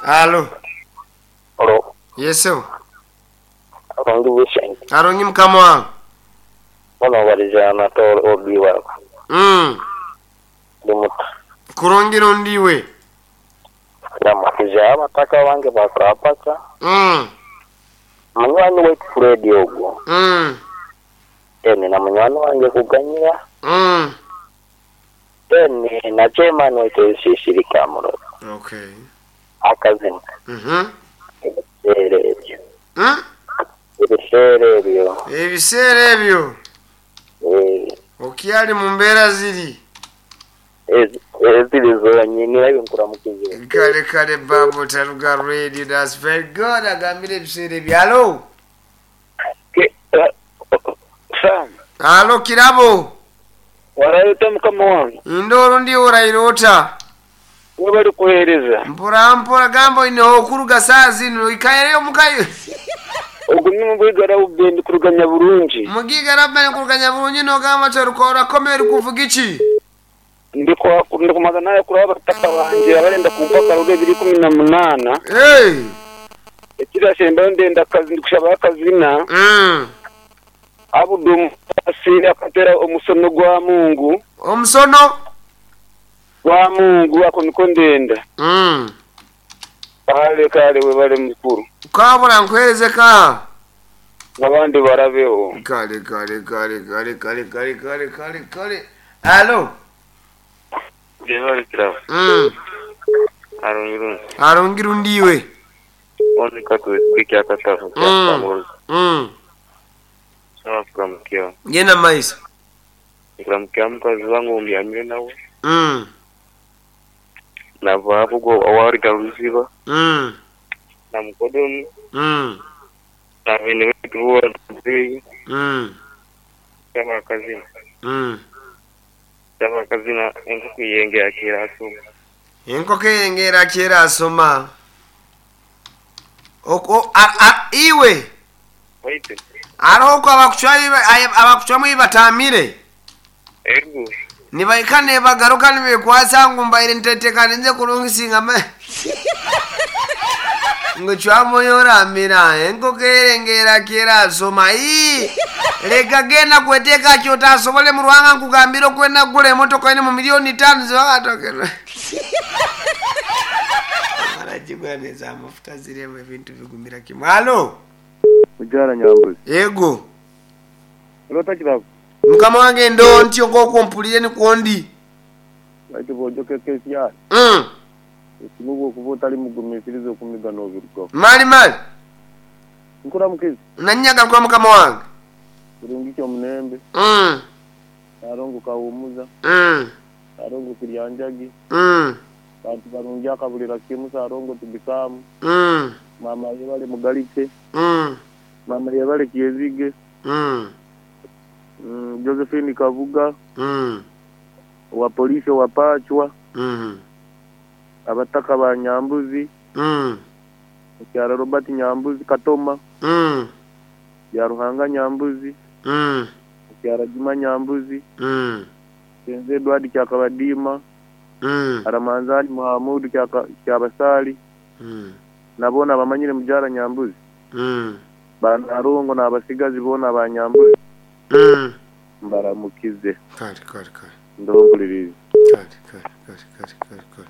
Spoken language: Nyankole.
Alo. Alo. Yes sebo. Arungi Vincent. Arungi mukama wange. Bono baliza Anatole OB wako. Ndi muta. Kurungi rundi iwe. Ndamukiza abataka bange ba Kapaka. Munywani waitu Fred ogwo. Then na munywani wange Kuganyira. Then na chairman waitu Sisiri Kamuroza. Okay. Akazina. Ebiseera ebyo. Ebiseera ebyo. Ebiseera ebyo. Okyali mu mbeera ziri. Eziri zonyini aye nkuramukize. Kale kale babu Taruga Radio that's very good agambire ebiseera ebyo. Alo. Sam. Alo Kirabo. Waraire ota mukama wange? Ndooro ndi oraire ota? Webare kuheereza. Mpora mpora gamba oineho okuruga saaha zinu oikaireyo omuka iwe. Ogu ni Mubwiga Rauben kuruga Nyaburungi. Mugiga Rauben kuruga Nyaburungi nogamba ki orakomeye orikuvuga ki? Ndikubanza nayakuraho abataka bangye abarenda kumpa akaruru ebiro 18. Ekirashembayo ndenda ndikushabayo akazina. Abudu Omusaasi akatera omusono gwa Mungu. Omusono? Gwa Mungu ako niko ndenda. Kale kale webale mukuru. Kabura nkuhereze ka. Abandi barabeho. Kale kale kale kale kale kale kale kale kale. Alo. Webale kirabo. Arungi rundi. Arungi rundi iwe. Onu katwesige kyakatafu kya Sawa kuramukia. Genda maiso. Nkuramukia mukazi wange ombyamire nawe. Nava apo gwo owariga ruziba. Na mukodomi. Na bene betu boona tuzeeyi. Kyaba akazina. Kyaba akazina enkoko eyengera kyerasoma. Enkoko eyengera kyerasoma. Okwo a a iwe. Waitu. Hariho oku abakucwamu ei bataamire. Ego. Nibahika nibagaruka nibekwatsa ngu mbaire nteteekanize kurungi singa ngu cwamu oyi oraamira enkoko erengera kyerasoma. Ii reka genda kweteeka kyotasobole mu Ruhanga nkugambire okwenda kugura emotoka eine mu milioni itaano zibakatokera. Baragigura neza amafuta ziremu ebintu bigumira kimwe. Halo. Mukyala Nyambuzi. Yego. Oloota kirabo? Mukama wange ndo ntyo nk'oku ompuriire nikwo ndi. Baitu bw'ojoka ekyaro, esimu bw'okuba otari mugumisiriza okumiga noobirugaho. Mali mali. Nkuramukize. Nanyagaruka mukama wange. Kirungi ky'omunembe. Nalongo Kahumuza. Nalongo Kiryanjagi. Bantu barungi akaburira kimwe Salongo Tubikamu. Maama yebare Mugarike. Maama yebare Kyezige. Josephine Kabuga. Owa poliisi owa Pacwa. Abataka ba Nyambuzi. Mukyara Robert Nyambuzi Katoma. Byaruhanga Nyambuzi. Mukyara Juma Nyambuzi. Senze Edward Kyakabadiima. Aramanzani Muhamudu Kyabasaali. Na boona abamanyire Mugyara Nyambuzi. Ba Nalongo n'abasigazi boona ba Nyambuzi. Mbaramukize. Kare kare kare. Ndompuririze. Kare kare kare kare kare kare.